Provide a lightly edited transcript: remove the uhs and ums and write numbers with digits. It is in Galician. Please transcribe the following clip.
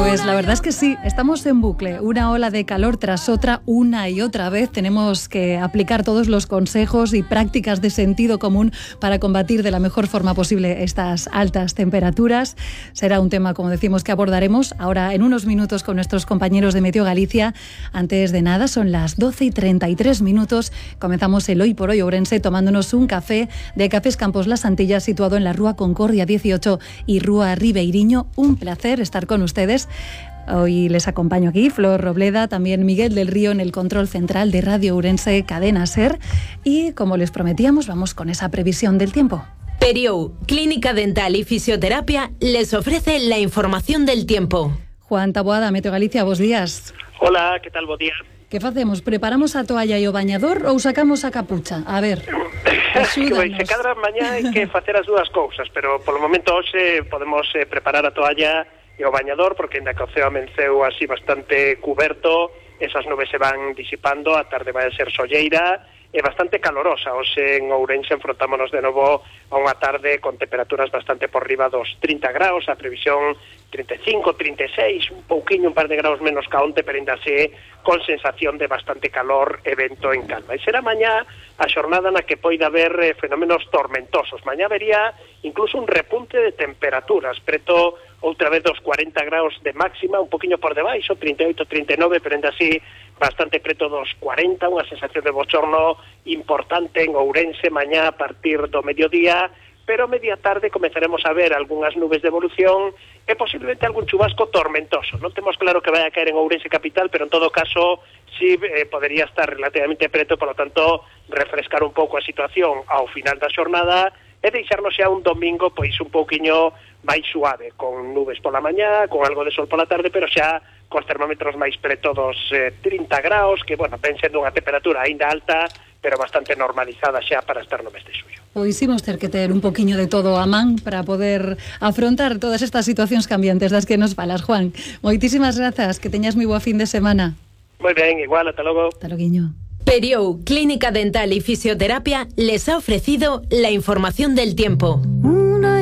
Pues la verdad es que sí, estamos en bucle, una ola de calor tras otra, una y otra vez. Tenemos que aplicar todos los consejos y prácticas de sentido común para combatir de la mejor forma posible estas altas temperaturas. Será un tema, como decimos, que abordaremos ahora en unos minutos con nuestros compañeros de Meteo Galicia. Antes de nada, son las 12:33. Comenzamos el Hoy por Hoy Ourense tomándonos un café de Cafés Campos Las Antillas, situado en la Rúa Concordia 18 y Rúa Ribeiriño. Un placer estar con ustedes. Hoy les acompaño aquí, Flor Robleda, también Miguel del Río en el control central de Radio Ourense Cadena SER. Y como les prometíamos, vamos con esa previsión del tiempo. Periou, Clínica Dental y Fisioterapia, les ofrece la información del tiempo. Juan Taboada, Meteo Galicia, bos días. Hola, que tal, bo día? Que facemos? Preparamos a toalla e o bañador ou sacamos a capucha? A ver, axúdanos. Se cadra mañá hai que facer as dúas cousas, pero polo momento hoxe podemos preparar a toalla e o bañador, porque ainda que o ceo amenceu así bastante cuberto, esas nubes se van disipando, a tarde vai a ser solleira e bastante calorosa. Hoxe en Ourense enfrontámonos de novo a unha tarde con temperaturas bastante por riba dos 30 graus, a previsión 35, 36, un pouquiño, un par de graus menos ca onte, pero ainda así con sensación de bastante calor e vento en calma. E será mañá a xornada na que poida haber fenómenos tormentosos. Mañá vería incluso un repunte de temperaturas, preto outra vez dos 40 graus de máxima, un poquinho por debaixo, 38, 39, pero ainda así bastante preto dos 40, unha sensación de bochorno importante en Ourense mañá a partir do mediodía, pero media tarde comezaremos a ver algunhas nubes de evolución e posiblemente algún chubasco tormentoso. Non temos claro que vai a caer en Ourense capital, pero en todo caso sí podería estar relativamente preto, por lo tanto refrescar un pouco a situación ao final da xornada e deixarnos xa un domingo pois un pouquiño máis suave, con nubes pola mañá, con algo de sol pola tarde, pero xa cos termómetros máis preto dos 30 graus, que, bueno, ven sendo unha temperatura aínda alta, pero bastante normalizada xa para estar no mes de xullo. Pois imos ter que ter un poquinho de todo a man para poder afrontar todas estas situacións cambiantes das que nos falas, Juan. Moitísimas grazas, que teñas moi boa fin de semana. Moi ben, igual, ata logo. Ata loguiño. Periou, Clínica Dental y Fisioterapia, les ha ofrecido la información del tiempo.